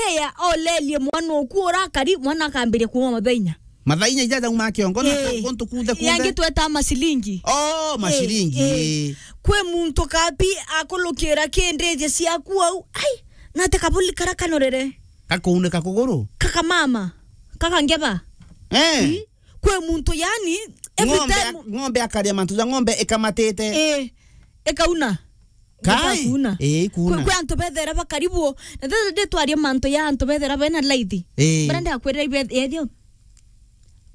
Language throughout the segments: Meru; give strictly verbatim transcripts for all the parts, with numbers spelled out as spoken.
Aya, olelie mwana uku urakari, mwana akambiria kuuma mathaa inya. Mathaa inya ijaja uma kiongo na Eh. kuntu kuthe kuthe. Yangi tweta mashilingi. Oh, mashilingi, Eh, eh. eh. Kwi muntu kapi akulukira kindeje ciaku au. Ai, nate kabuli kara kanorere. Kakuuneka kuguru? Kaka mama. Kaka ngeba. Eh. Mm. Kwi muntu yani, every Ng'ombe time a-, ng'ombe akaria mantu ja ng'ombe ikamatite. Eh, ikauna. Kai? Ikauna. Eh, ikuna. Kwi, kwi antu bethera bakaribu. Na thitha nditwaria mantu ya antu bethera bena laithi. Eh. Bara ndakwirira ibe-, yethio.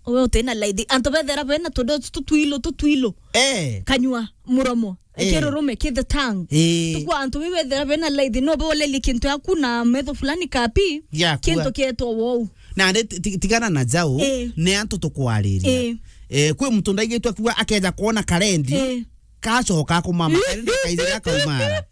Owe utina laithi. Antu bethera bena tundo tutwilo, tutwilo. Eh. Kanyua, muromo. Eh. Kirurume, ki the tongue. Eh. Tukwa antu bethera bena laithi, no bolelie kintu yaku na metho fulani kapi, Yakua. kintu kietwa wou. Na ndi ti-, ti-, tigana na jau, Eh. ni antu tukwariria. Eh. Eh, kwi muntu ndaigitwe kuga akeja kuona karendi, Eh. kacoka kumama, karendi kaithira kaumara.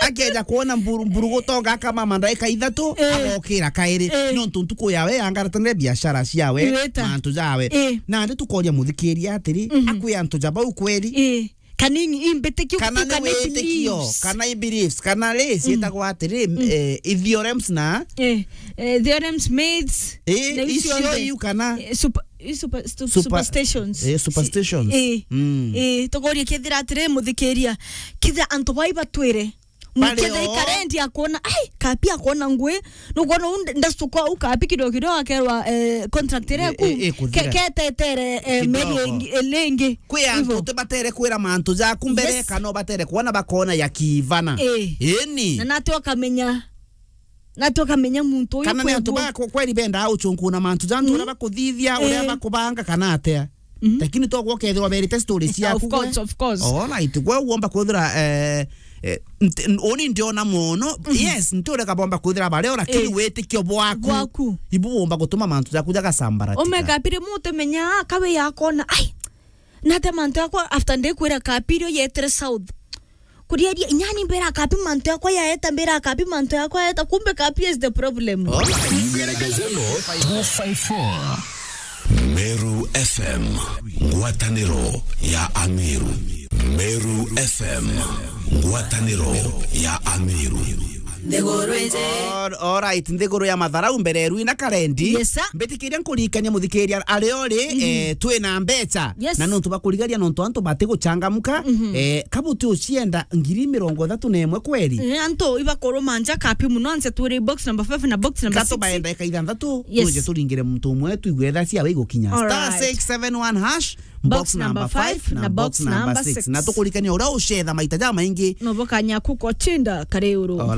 Akeja kuona mburu, mburu gutonga akamama ndaika ithatu, Eh. agokira kairi. Eh. Nontu ntuku yawe yangaratanire biashara ciawe, Iweta. mantu jawe. Eh. Na ndi tukoria muthikiria atiri, Mhm. akwi antu ja bau kweri? Eh. Kana i, i mbitikiu Kana tu, ni kana i witikio, beliefs. kana i beliefs, kana ri, ciitagwa atiri, Mm. eh, i theorems na Eh, eh, theorems, myths, Eh, na icio icio nthe. iu kana Eh, super-, i super-, stu-, Super-, superstitions. eh, superstitions. Eh, Mm. eh, tukoria kethira atiri, muthikiria, kethira antu bai batwire, Bari mukethira o. ikarendi akona, ai, kapi akona ngui, nukwona u nda-, ndastuka u kapi kidogo kidogo akerwa, eh, contract iria Eh, ku, eh, eh, ke-, kuthira. ketetere, eh, Kidogo. meri ingi, eh, lingi. Kwi antu Ivo. utibatere kwira mantu jaku mbere, Yes. kana ubatere kwona bakona ya kivana. Eh. Ini. Na nati ukamenya, nati ukamenya muntu uyu Kana ni kwi antu ngui. ba ku-, kweri bendaa uchunkuna mantu ja antu Mm. uria bakuthithia, uria Eh. bakubanga, kana atia. Mhm. Lakini to gwo kethirwa berite story Of ciaku course, gwe. of course. Alright, gwe uomba kwithira, eh, eh, nti-, n-, uni ndiona mono. Mhm. Yes, nti ureka bomba kwithira bario, lakini Eh. witikio bwaku. Bwaku. Ibu uomba gutuma mantu jaku jagasambaratika. Omega pire mutu menya, ah, kawe yakona, ai, nate mantu yakwa after ndikwira kapiri yetire south. Kuriaria, inyani mbira kapi mantu yakwa yaeta, mbira kapi mantu yakwa yaeta, kumbe kapi is the problem. Ngeregezelo two five four. Meru F M, ngwataniro ya Ameru. Meru F M, ngwataniro ya Ameru. All, all right, nthiguru ya matharau mbere rwi na karendi. Yes, sir. Mbitikiria nkurikania muthikiria ario ri, Mhm. eh, twina mbeca. Yes. Na nontu bakurigaria nontu antu batiguchangamuka, Mhm. eh, kabuti ucienda ngiri mirongo ithatu na imwe kweri? Eh, antu ibakuruma nja kapi muno, anse turi box number five na box number six. Katubaenda ika ithanthatu, Yes. tuje turingire muntu umwe, tuigue thaa ciawe igukinya. All Star right. six seven one hash, Box box number number five five na na box box number number six. six. Na tukurikania uria ucetha maita jamaingi. No bokanya kuko chinda kare uru. All